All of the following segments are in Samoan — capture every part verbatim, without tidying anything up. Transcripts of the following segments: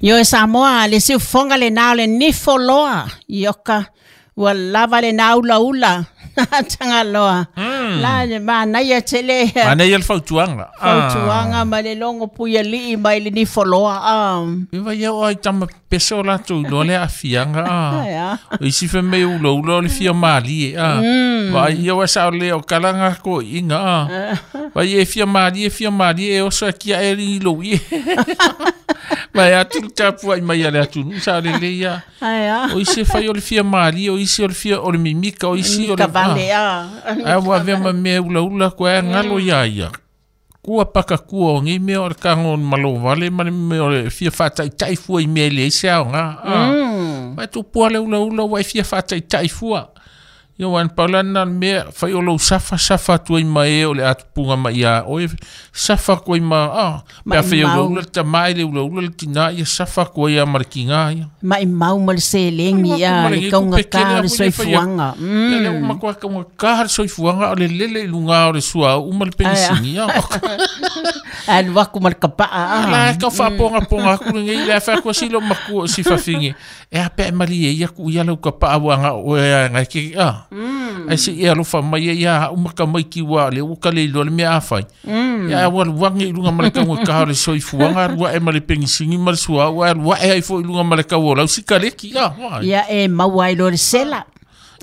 Io e Samoa le siufoga lenā o le nifo loa ioka ua lava lenā ulaula Tagaloa la le manaia tele. Manaia le fautuaga. Fautuaga ma le logo puialii mai le nifo loa a. Iva ia o ai tama pese o latou iloa le aafiaga a. O isi femai ulaula o le fia malie a. Vaai ia ua sao lea o kalaga koiiga a. Vai e fia malie fia malie e oso akia e ligi lou ie. Mai atu le tapuai mai a le atunuu sa lelei a. O isi e fai o le fia malie, o isi o le fia o le mimika, o isi o le vale a. Ae ua avea ma mea ulaula koe galo iā ia. Kua paka kua o nei mea o le kago malo vale ma le mea o le fia faataitai fua i mea e leai se aoga. Vai tupua le ulaula ua e fia faataitai fua. Ia ua pau la lena mea fai o lou safa safa atu ai ma e o le atupuga mai ia oe safa atu ai ma ah pe a fai ulaula le tamā i le ulaula le tinā ia safa atu ai a ma le kigā ia. Maimau ma le seleni ia le kaugatā o le soifuaga. Ia le uma koa kaugatā le soifuaga o le lele i luga o le suauu ma le penisini ia. Alu aku ma le kapaa. La e kau faapogapoga aku lenei le afe aku si lo makua o si fafine. E a pe malie ia ku ia lau kapaa ua nga oe a ngai ke a. Ai se ia alofa mai ia uma ka mai ki ua le ua ka le iloa le mea a fai. Ia ua luangi i luga ma le kaugatā o le soifuaga alua e ma le penisini ma le suauu alua e ai foi i luga ma le kau o lau sikaleki a. Ia e maua ai loa le sela.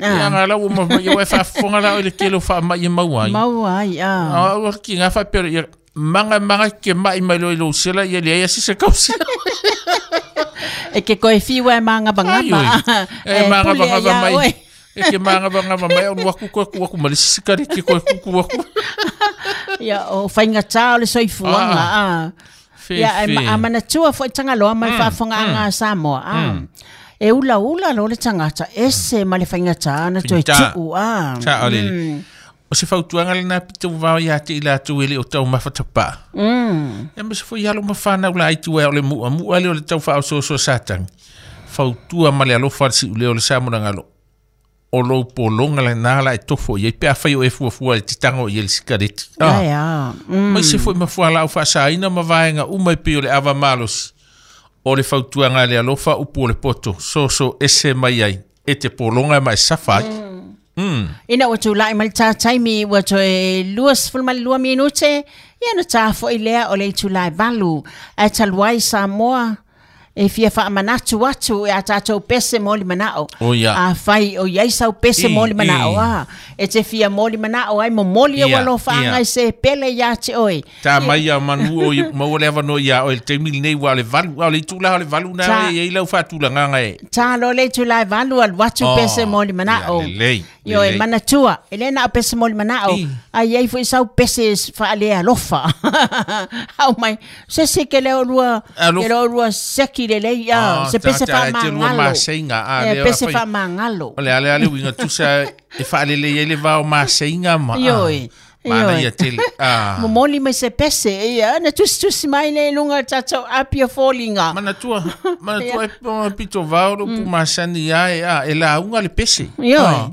Ia nga lau ma ia ua faafofoga la o le tele o faamai e maua ai. Maua ai a. A o ki nga faapea ia manga manga ke mai mai lo i lou sela ia leai asi se kausela. E ke koe fiu e magavagava. E magavagava mai. E ke magavagava mai o luaku koe ku aku ma le isi sikareti koe kuku aku. Ia o faigata o le soifuaga a. Ia e amanatua foi Tagaloa ma le faafofogaaga a Samoa a. E ulaula loa le tagata ese ma le faigata na toe tuu a. Sao lele. O se fautuaga lenā pito vavao iā te i latou e le o taumafatapaa. Ia ma se foi alo ma fanau laiti uae o le mu'amu'a le o le taufaaosoosoa Satani. Fautua ma le alofa le si'ulea o le sa monagalo. O lou pologa lenā la e tofo i ai pe afai o e fuafua i te tago i ai le sikareti. Mai se foi ma fualaau faasāina ma vaega uma e pei o le ava malosi. O le fautuaga a le alofa upu o le poto soso ese mai ai e te pologa ma e safa ai. Mm. Ina ua tula'i mai le tataimi ua toe luasefulumalua minute ia na tafo'i lea o le itulā e valu ae talu ai Samoa e fia faamanatu atu e a tatou pese mo le manao. Oh, ia. Afai o iai sau pese mo le manao a. E te fia mo le manao ai momoli e Ia, ualofaaga ia. i se pele iā te oe. Tā mai a manu o i maua le avanoa iā oe le taimi lenei ua o le valu, a o le itulā o le valu nā Tā. e i ai lau faatulagaga e. Tā loa le itulā e valu alu atu Oh, pese mo le manao. ia, lelei, Ioe, lelei. manatua, e le na o pese mo le manao, I. a iai foi sau pese faalealofa. Au mai, se se ke le o lua, Alofa. ke le o lua seki lelei, a, Ah, se pese tā- tā- te lua faamagalo. maseiga, a, E, lea pese fai- faamagalo. O le ale ale uiga tusa e faalelei ai le vao maseiga ma. Ioe, Mana ioe. ia tele. Ah. Momoli mai se pese, ia, na tusitusi mai le i luga o le tatou api o foliga. Manatua, manatua e pona pito vao le upu masani ia e a, e lauga le pese. Ioe. Ah.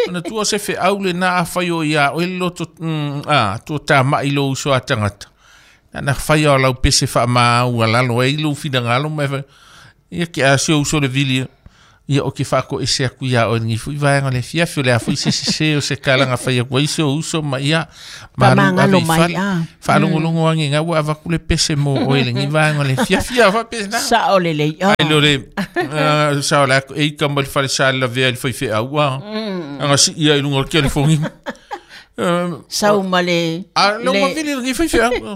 Manatua se feau lenā afai o iā oe le loto, mm, a, tua tama'i lou uso a tagata. Na na faia o lau pese faamaau alalo ai lou finagalo ma e fai, ia ke a se uso le vili ia o ke faako'ese aku iā oe lenei fo'i vaega o le afiafi o le a fo'i se sesē o se kalaga fai aku ai se o uso ma ia malu ave Faamagalo i mai, fale a. faalogologo age gau ua avaku le pese mo oe lenei vaega o le afiafi a faapena. Sao lelei, a. Ai le o le ah, sao le aku e ika mai le fale sa le lavea i le faifeau a. Aga si'i ai i luga o le telefoni. Sau ma le A le uma le vili lenei faifeau.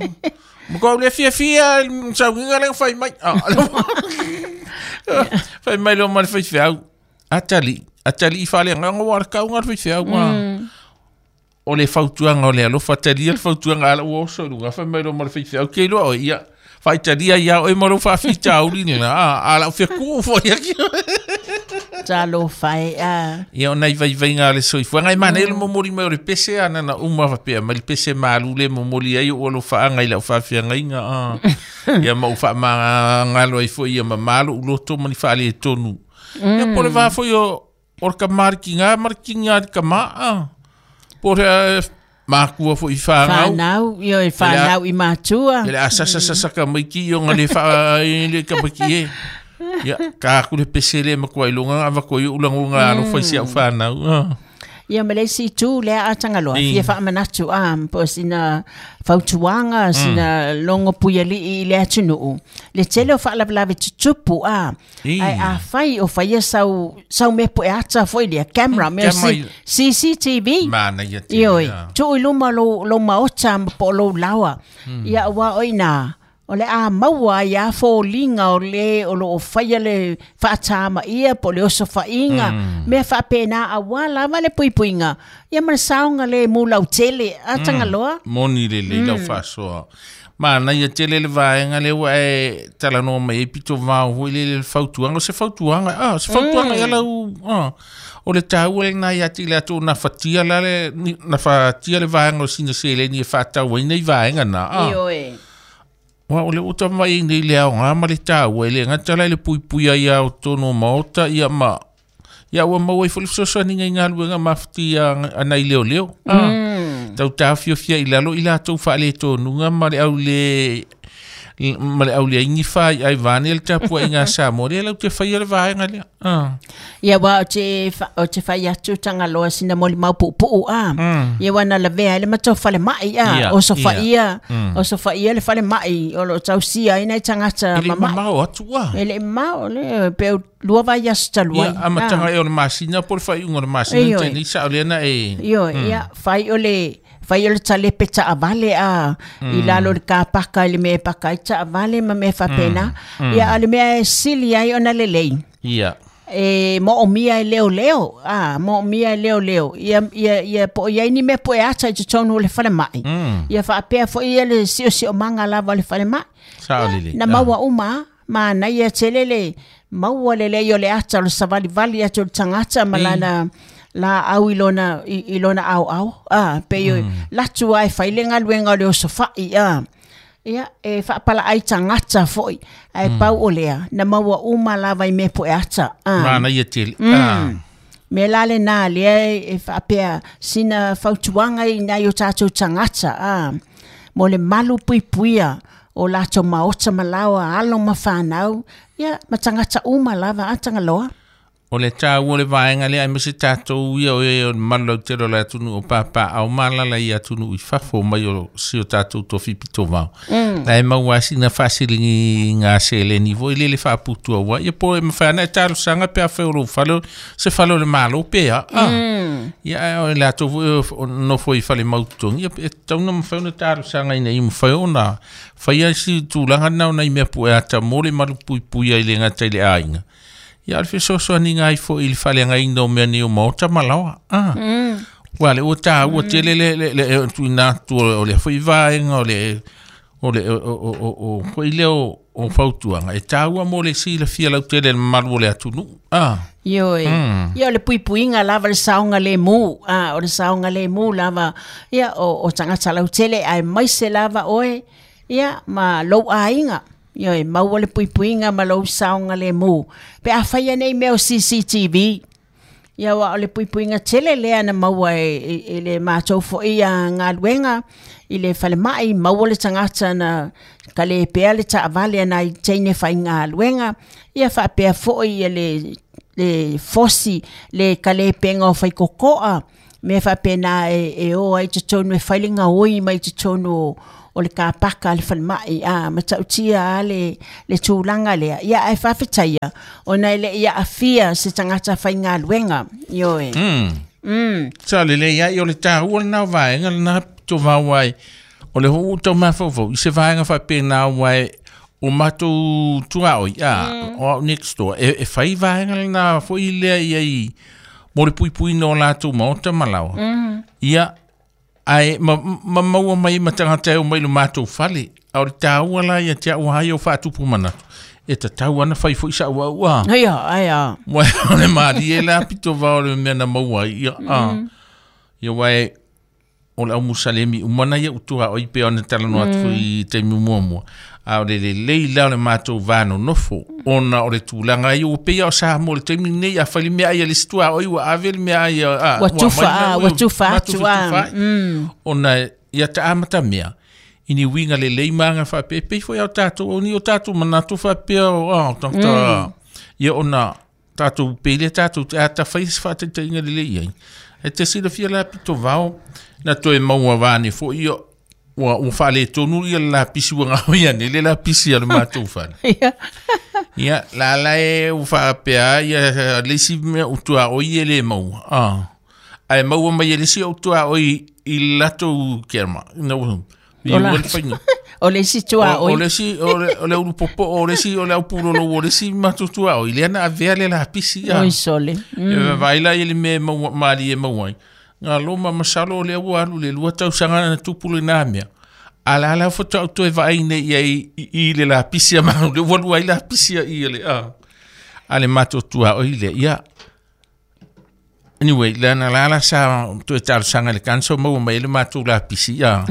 Ma koa le fiafia saugiga le fai mai. Ah, fai mai le ma le faifeau. Atali, atali i faaleagaga ua le kauga le faifeau a. O le fautuaga o le alofa talia le fautuaga ala ua oso i luga fai mai le ma le faifeau ke iloa oe ia. Faitalia ia oe ma lou faafitauli lena a, a lau fekuu foi aki. Talofa e a. Ia o nai vaivaiga a le soifuaga e manaia le momoli mai o le pese ana na uma faapea mai le pese malu le momoli ai o ua alofaaga i lau faafeagaiga a. Ia ma ou faamagalo ai foi ia mamā lo'u loto ma ni faaletonu. Ia po o le va foi o o le kamā le kigā ma le kigā i le kamā a. Po o le Makua fo i whanau. Whanau, io e whanau i mātua. Ele a sasa sasa ka maiki i o ngale wha le ka maiki e. Ia, ka aku le pesele ma kua ilunga awa kua i ulangu ngā alo whai si au whanau. Ia ma le si tū lea a Tangaloa, fia whaamanatu a, po sina fautuanga, sina longo puiali i le atunuu. Le tele o whaalavelawe tutupu a, ai a whai o whaia sau, sau mepo e ata foi lea, camera, mea C C T V. Mana ia te. Ioi, tuu i luma lo, lo maota ma po lo lawa. Ia wa oi nā, o le a maua ia fōlinga o le o lo o whaia le whaatama ia po le oso whainga mea whaapena a wala wale puipuinga ia mana saonga le mulau tele a Tangaloa. Moni le le lau whasoa. Mana ia tele le vaenga le ua e talanoa mai e pito vao hoi le le fautuanga. O se fautuanga, ah, se fautuanga ia lau, ah, o le tāua le nai ati le atu na whatia la le, na whatia le vaenga o sina seleni e whaatau ai nei vaenga na. Ah. Ioe. Wa o le uta mai nei le ao ngā ma le tāua le ngata lai le pui pui ai au tono maota ia ma ia ua maua i fo le fesoasoani ngai galuega mafatia ana i leoleo. Ah. Tau tāfiofia i lalo i latou faaletonuga ma le au le ma le au le ingi fai ai vane le tapuaiga a Samoa lea lau te faia le vaega lea. Ah. Ia wa o te o te fai atu Tangaloa sina moli mau puupuu a. Ia wa na lavea le matou falemai a o sofaia o sofaia le falemai o lo tausia ai nai tagata mamai. E le mamao atu a. E le mamao le pe lua vai aso talu ai. Ia amataga e o le masina po le faaiuga o le masina te nei sao lea na e. Ioe ia fai o le fai o le talepe taavale a i lalo le kapaka i le mea e paka ai taavale ma mea faapena. Ia a le mea e sili ai ona lelei. Ia. E moomia e leo leo a moomia e leo leo ia ia ia po ia ni mea po e ata i totonu o le falemai. Ia faapea foi ia le siosiomaga lava o le falemai. Sao lelei. Na maua uma ma na ia tele le maua lelei o le ata o le savalivali atu o le tagata ma lana la au i lona i lona au au a pe yo latu ai fai le galuega o le osofai a ia e faapala ai tagata foi ai pau o lea na maua uma lava i mea po e ata a mana ia tele a me la le na lea e faapea sina fautuaga i nai o tatou tagata a mo le malu puipuia o latou maota ma laoa alo ma whanau ia ma tagata uma lava a Tangaloa. O le tāua le vaenga lea, aemaise tatou ia o e o le malu lautele o le atunuu o papaao malala i atunuu i fafo mai o si o tatou tofi pitovao. Na e maua sina faasiliga gā seleni foi le le faaputua ua ia po e mafai ana e talosaga pe afai o lou fale se fale o le malo pea. Ah. Ia o le latou foi nofo i fale mautotogi ia e tatau ona mafai ona talosaga ina ia mafai ona faia si tulaga lena ona i mea pu'e ata mo le malu puipui ai le gata i le aiga. Ia o le fesoasoaniga ai foi i le faleagaina o mea nei o maota ma laoa. Ah. Ua le ua tāua tele le le le tuuina atu o le foi vaega o le o le o o o o foi lea o o fautuaga e tāua mo le silafia lautele le mamalu o le atunuu. Ah. Ioe. Ia o le puipuiga lava le saoga lemu. Ah, o le saoga lemu lava ia o o tagata lautele aemaise lava oe ia ma lou aiga. Ioe, maua le puipuiga ma lou saoga lemu. Pe a faia nei mea o C C T V. Ia wa o le puipuiga tele lea na maua e, e, e le matou foi a galuega i le falemai maua le tagata na ka le pea le taavale ana i teine faigaluega. Ia faapea foi ia le le fosi le kalepenga o faikokoa mea faapena e, e o ai totonu e fai le gaoi mai totonu o o le kapaka le falemai a matautia a le le tulaga lea ia ae faafetaia ona e le ia afia se tagata faigaluega ioe. Mm. Mm. Sa le le ia i o le tāua lena o vaega lena tovao ai o le hou tau mafaufau i se vaega faapena uae o matou tuaoi a o au next door e, e fai vaega lena foi lea ia i mo le puipuina o latou maota ma laoa. Mm. Ia ai ma ma maua mai ma tagata e o mai lo matou fale a o le tāua la ia te au ai o faatupu manatu e tatau ana fai foi sa'u au a. Ia aia. Ua o le malie la pito vao le mea na maua ai ia a. Ia uae o le au musalemi umana ia utua o i pe ona talanoa atu i taimi muamua. A o le lelei la o le matou vanonofo ona o le tulaga ai ua pei o Samoa le taimi lenei a fai le mea ai a le isi tuaoi ua ave le mea ai a ua tufa ua tufa atu a ona ia taamata mea ini uiga lelei ma aga faapea e pei foi a o tatou o ni o tatou manatu faapea o a tagata ia ona tatou pei tatou te ata fai se faataitaiga lelei ai e te silafia la pito vao na toe maua vane foi ia ua ua faaletonu ia le lapisi ua gaoia nei le lapisi a le matou fale. Ia la la e ua faapea ia le isi mea utuaoi e le maua ah ae maua mai e le isi utuaoi i le latou kerma na ua o le isi tuaoi o le isi o le ulu popo o le isi o le aupulolo o le isi matou tuaoi lea na avea le lapisi oi sole e vaai la i le mea maua malie maua ai ngā loma masalo o lea ua alu le lua tausaga na tupu lena mea. A la la faatoa ou toe vaai nei i ai i le lapisi a mau le ua lua ai lapisi a i le a. A le matou tuaoi lea ia. Anyway, le na la la sa toe talosaga i le council maua mai le matou lapisi a.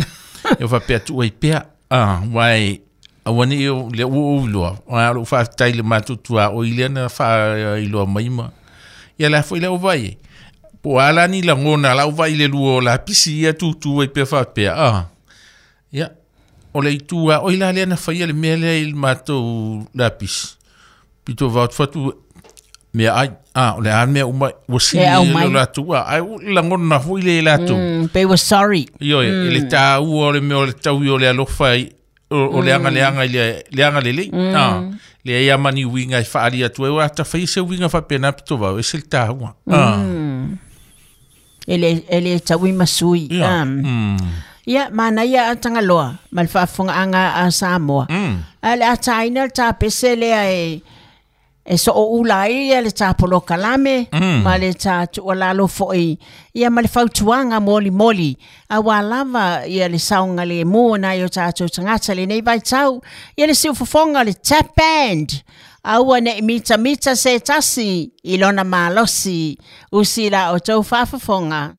E faapea tuu ai pea a wai aua nei le ua ou iloa. A o lou faafetai i le matou tuaoi lea na faailoa mai ma. Ia la foi le au vaai ai. Po ala ni lagona lau vai le lua o lapisi ia tutu ai pea faapea ah. Ia o le itu a oi la lea na faia le mea lea i le matou lapisi. Pito vao fatu mea ai ah o le a mea uma ua sili le latou a ai lagona foi le latou. Mm, they were sorry. Ioe mm. Le tāua o le mea o le taui o le alofa i o le anga le anga i le le anga lelei. Mm. Ah le ia mani uiga i faali atu ai ua ta fai se uiga faapena pito vao e se le tāua. Ah. Mm. Ele ele taui masui. Yeah. Um, mm. Ia mana ia a Tagaloa ma le faafofogaaga a Samoa. Mm. A le ataina le tapese lea e e sooula ai ia le tapolokalame mm. ma le tatuualalo fo'i ia ma le fautuaga molimoli auā lava ia le saogalemu nai o tatou tagata lenei vaitau ia le siufofoga le tap band aua ne'i mitamita se tasi i lona malosi usi la outou faafofoga.